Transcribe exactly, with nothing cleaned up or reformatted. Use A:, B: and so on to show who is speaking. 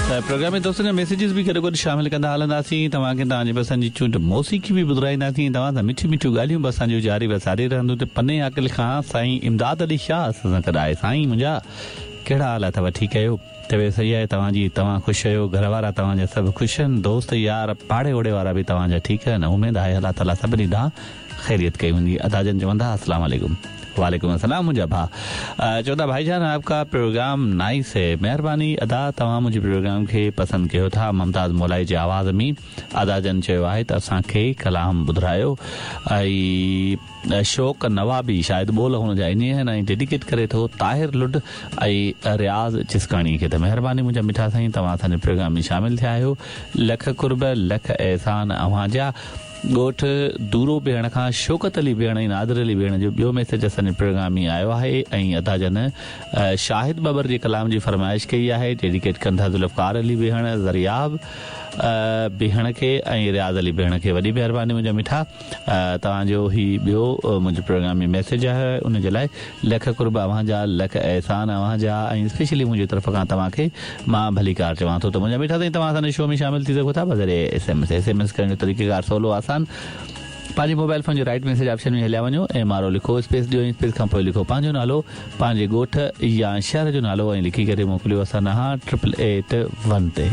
A: ته پروگرام ۾ دوستن جا ميسيجز به گڏو گڏ شامل ڪندا هلنداسين. توهان کي توهان جي پسند جي چونڊ موسيقي به ٻڌرائينداسين. توهان سان مٺيون مٺيون ڳالهيون به اسان جون جاري و ساري رهنديون. ته پني عاقل کان سائين امداد علي شاهه اسان سان گڏ آهي. سائين منهنجا ڪهڙا حال اٿو؟ ٺيڪ آهيو؟ طبيعت صحيح آهي توهان جي؟ توهان خوش آهيو؟ گهر وارا توهان جا سڀ خوش آهن؟ دوست يار پاڙي اوڙي وارا به توهان جا ٺيڪ آهن؟ اميد آهي الله تعاليٰ سڀني ڏانهن خيريت ڪئي هوندي. ادا جن چوندا السلام عليڪم. वालेकुम अस्सलाम मुंहिंजा भाउ. चवंदा भाईजान आपका प्रोग्राम नाइस है. महिरबानी अदा, तव्हां मुंहिंजे प्रोग्राम खे पसंदि कयो था. मुमताज़ मौलाई जे आवाज़ में अदा जन चयो आहे त असांखे कलाम ॿुधारायो. ऐं शौक नवाबी शायदि ॿोल हुन जा इन आहिनि ऐं डेडिकेट करे थो ताहिर लुड ऐं रियाज़ चिस्काणी खे. त महिरबानी मुंहिंजा मिठा साईं, तव्हां असांजे प्रोग्राम में शामिल थिया आहियो. लख कुर्ब लख एहसान अव्हां जा. ॻोठ दूरो बेहण खां शौकत अली बेहण ऐं नादिर अली बेहण जो ॿियो मैसेज असांजे प्रोग्राम में आयो आहे. ऐं अदा जन शाहिद बबर जे कलाम जी फरमाइश कई आहे. डेडिकेट कनि था ज़ुल्फ़कार अली बेहण, ज़रियाब बेहण खे ऐं रियाज़ अली बेहण खे. वॾी महिरबानी मुंहिंजा मिठा, तव्हांजो ही ॿियो मुंहिंजे प्रोग्राम में मैसेज आहे, उन जे लाइ लख कुर्ब अव्हां जा, लख एहसान अव्हां जा. ऐं स्पेशली मुंहिंजी तरफ़ खां तव्हांखे मां भलीकार चवां थो. त मुंहिंजा मिठा साईं, तव्हां असांजे शो में शामिल थी सघो था बज़रिए S M S. S M S करण जो तरीक़ेकार सवलो आसान. पंहिंजे मोबाइल फ़ोन जे राइट मैसेज ऑप्शन में हलिया वञो, एम आर ओ लिखो, स्पेस ॾियो, स्पेस खां पोइ लिखो पंहिंजो नालो, पंहिंजे ॻोठ या शहर जो नालो ऐं लिखी करे मोकिलियो असां ॾांहुं ट्रिपल एट वन ते.